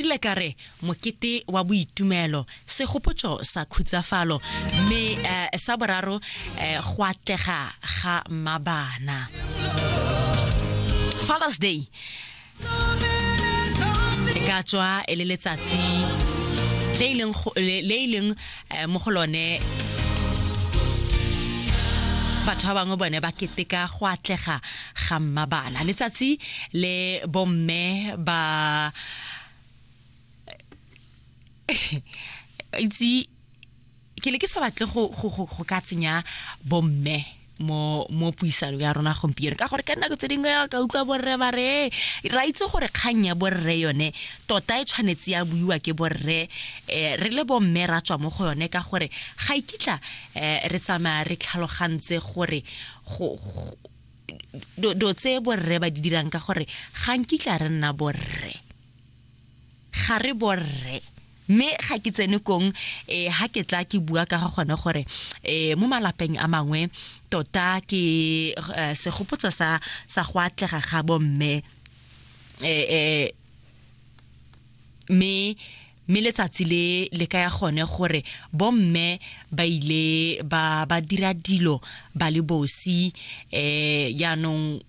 rile ka re mokete wa boitumelo, segopotso sa khutsafalo, mme sa boraro go atlega ga mabana. Father's Day e ka tswa e le letsatsi le e leng mo go lone batho ba bangwe bone ba keteka go atlega ga mmabana, letsatsi le bomme ba itse ke le ke sa batle go ka tsenya bomme mo puisano ya rona gompieno, ka gore ka nako tse dingwe ka utlwa borre ba re ra itse gore kgang ya borre yone tota e tshwanetse ya buiwa ke borre, re le bomme ra tswa mo go yone, ka gore ga ikitla re tsamaya re tlhalogantse gore do tse borre ba di dirang, ka gore ga nkitla re nna borre, ga re borre. Mme ga ke tsene kong, ha ke tla ke bua ka ga gone gore mo malapeng a mangwe tota ke segopotso sa go atlega ga bomme, mme letsatsi le le ka ya gone gore bomme ba ile ba dira dilo ba le bosi. Jaanong